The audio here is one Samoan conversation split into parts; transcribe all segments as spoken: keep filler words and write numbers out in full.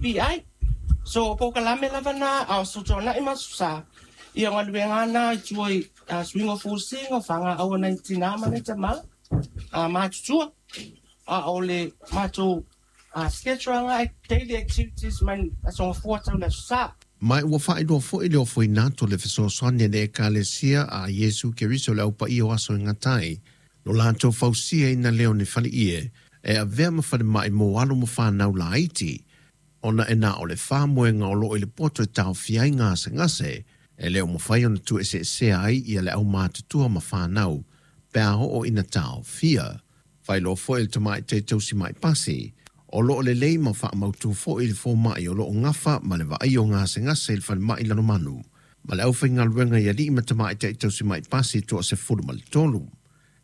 P I. So polokalame lava na a o sotuana'i ma aso sa, ia o galuega na i tua i suiga o fusiga o faga'au a nai tinā ma nai tamā matutua. A o le matou schedule aga daily activities mai aso gafua tau le aso sa. Ma ua faailoa foi le ofoina atu o le fesoasoani a le Ekalesia a Iesu Keriso le aupaia o aso e gata ai, lo latou fausiaina lea o ni faleie e avea ma falemai mo alo ma fanau laiti, ona e na o le faamoega o loo i le poto e taofia ai gasegase, e le o mafai ona tuueseesea ai ia le aumatutua ma fanau, pe a oo ina taofia. Faailoa foi le tamaitai tausima'i pasi, o loo lelei ma faamautu foi le foma'i o loo gafa ma le vaai o gasegase i le falemai Lalomanu, ma le aufaigaluega i alii ma tamaitai tausima'i pasi toasefulu ma le tolu.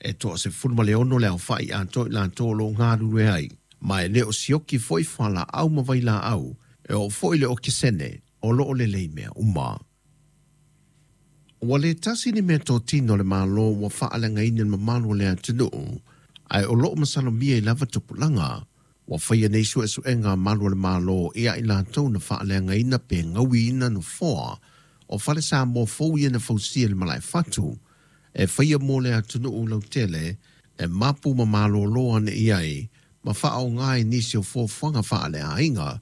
E toasefulu ma le ono le aofa'i atoa i latou o loo galulue ai, ma e le o sioki foi fualaau ma vailaau, e oo foi le okesene o loo lelei mea uma. Ua le tasi ni mea totino le Malo ua faaleagaina le mamalu o le atunuu, ae o loo masalomia i lava tupulaga. Ua faia nei suesuega a malu o le Malo ia i latou na faaleagaina pe gauiina nofoa o fale Samoa fou ia na fausia i le Malaefatu, e faia mo le atunuu lautele e mapu ma malōlō ane i ai ma faaoga i nisi o fuafuaga faaleaiga.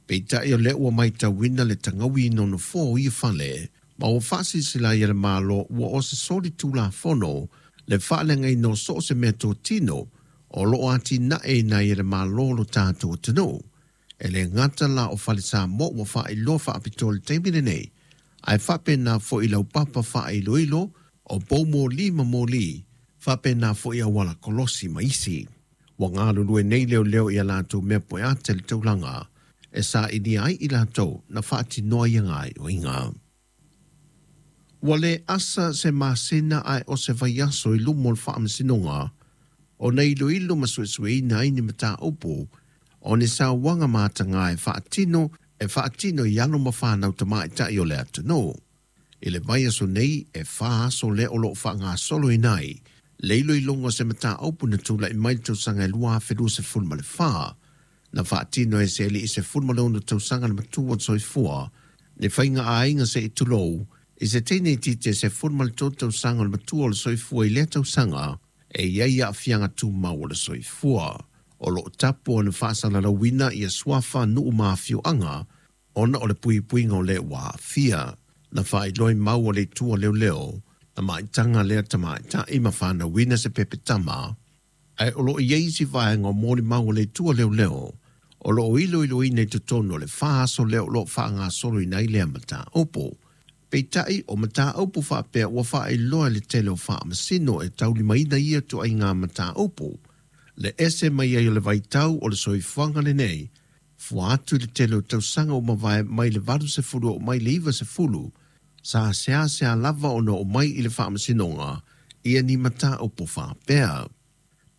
Peitai o lea ua matauina le tagauina o nofoa o ia fale, ma ua faasilasila ai e le Malo ua o se soli tulafono le faaleagaina o so o se mea totino o loo atinaeina ai e le Malo lo tatou atunuu. E le gata la o fale Samoa ua faailoa faapitoa i le taimi lenei, ae faapena foi laupapa faailoilo o poumoli ma moli, faapena foi auala kolosi ma isi. Ua galulue nei leoleo ia latou mea poeata i le taulaga, e sailia ai i latou na faatinoa ia gaoioiga. Ua le asa se masina ae o se vaiaso i luma o le faamasinoga, ona iloilo ma suesueina ai ni mataupu o ni sauaga mataga e faatino e faatino i alo ma fanau tamaitai o le atunuu. I le vaiaso nei e fa aso lea o loo faagasoloina ai le iloiloga o se mataupu na tula'i mai le tausaga e lua afe luasefulu ma le fa, na faatino e se alii sefulu ma le ono tausaga le matua o le soifua le faiga aiga se'i tulou i se teine itiiti e sefulu ma le tolu tausaga o le matua o le soifua i lea tausaga e i ai aafiaga tumau o le soifua. O loo tapu ona faasalalauina ia suafa nuu ma afioaga ona o le puipuiga o le ua aafia. Na faailoa i mau a le itu a leoleo na maitaga lea tamaita'i ma fanauina se pepetama, ae o loo i ai isi vaega o molimau a le itu a leoleo o loo iloiloina i totonu o le fa aso lea o loo faagasoloina ai lea mataupu. Peitai o mataupu faapea ua faailoa i le tele o faamasino e taulimaina ia tuaiga mataupu. Le ese mai ai o le vaitau o le soifuaga lenei, fua atu i le tele o tausaga ua mavae mai le valusefulu oo mai le ivasefulu, sa seasea lava ona oo mai i le faamasinoga ia ni mataupu faapea.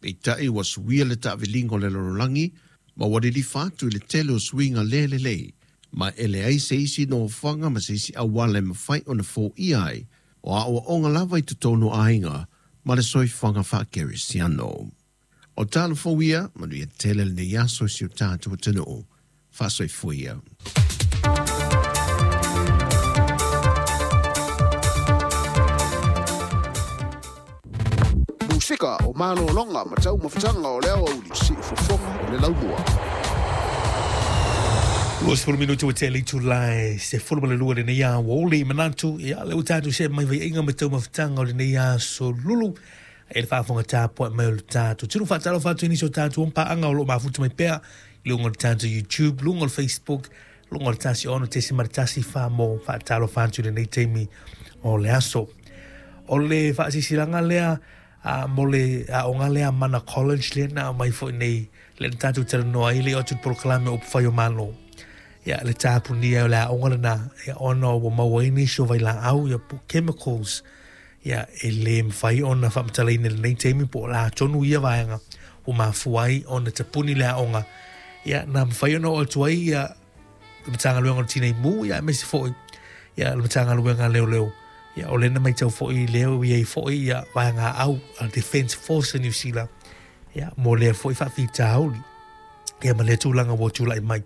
Peitai ua suia le taaviliga o le lalolagi ma ua lilifa atu i le tele o suiga le lelei, ma e leai se isi nofoaga ma se isi auala e mafai ona foia ai o aoaoga lava i totonu o aiga ma le soifuaga faakerisiano. O talo fou ia, manuia tele lenei aso i si o tatou atunuu. Faasoifua ia. Musika o malōloga ma taumafataga o le aoauli, siufofoga o le laumua. Luasefulu minuti ua tea le itula e sefulu ma le lua lenei aoauli manatu ia le ua tatou see mai vaiaiga ma taumafataga o lenei aso lulu e le faafofoga tapuai mai o le tatou tino faatalofa atu i nisi o tatou paaga o loo mafuta mai pea i luga o le tatou YouTube, luga o le Facebook, luga o le tasi ono tesima le tasi fa mo faatalofa atu i lenei taimi o le aso. O le faasisilaga lea a mo le aoga lea Mana College lea na aumai foi nei le na tatou talanoa ai le oo atu i le polokalame o upufai o Malo. Ia le tapunia o le aoga lena ia ona ua maua ai nisi o vailaau ia po chemicals ia e le mafai ona faamatalaina i lenei taimi po o le a tonu ia vaega ua mafua ai ona tapuni le aoga ia na mafai ona oo atu ai ia le Matagaluega o le Tinei Mu ia aemaise foi ia le Matagaluega a Leoleo ia o lea na matau foi lea ua i ai foi ia vaega au a le Defence Force a New Zealand ia mo lea foi faafitauli ia ma lea tulaga ua tulai mai.